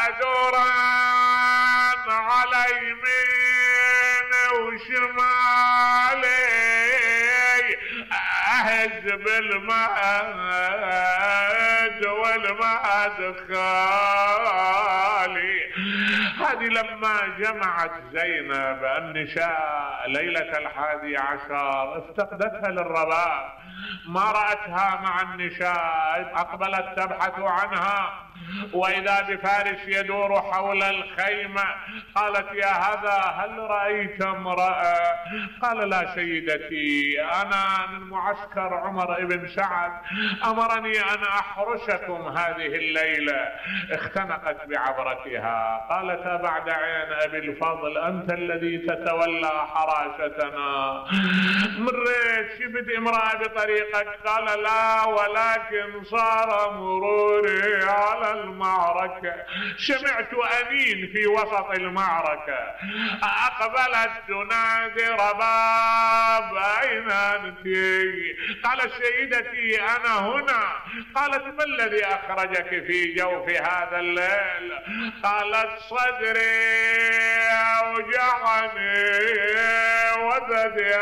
ادوران على يميني وشمالي، اهز بالمهد والمهد خالي. هذه لما جمعت زينب النساء ليلة 11 افتقدتها للرباب، ما رأتها مع النساء، اقبلت تبحث عنها، واذا بفارس يدور حول الخيمة. قالت يا هذا هل رأيت امرأة؟ قال لا سيدتي، انا من معسكر عمر بن سعد، امرني ان احرسكم هذه الليلة. اختنقت بعبرتها، قالت بعد عين ابي الفضل انت الذي تتولى حراستنا، مريت شفت امرأة بطريقك؟ قال لا، ولكن صار مروري على المعركة، سمعت أنين في وسط المعركة، أقبلت تنادي رباب أين أنت؟ قالت سيدتي أنا هنا. قالت ما الذي أخرجك في جوف هذا الليل؟ قالت صدري أوجعني وثدي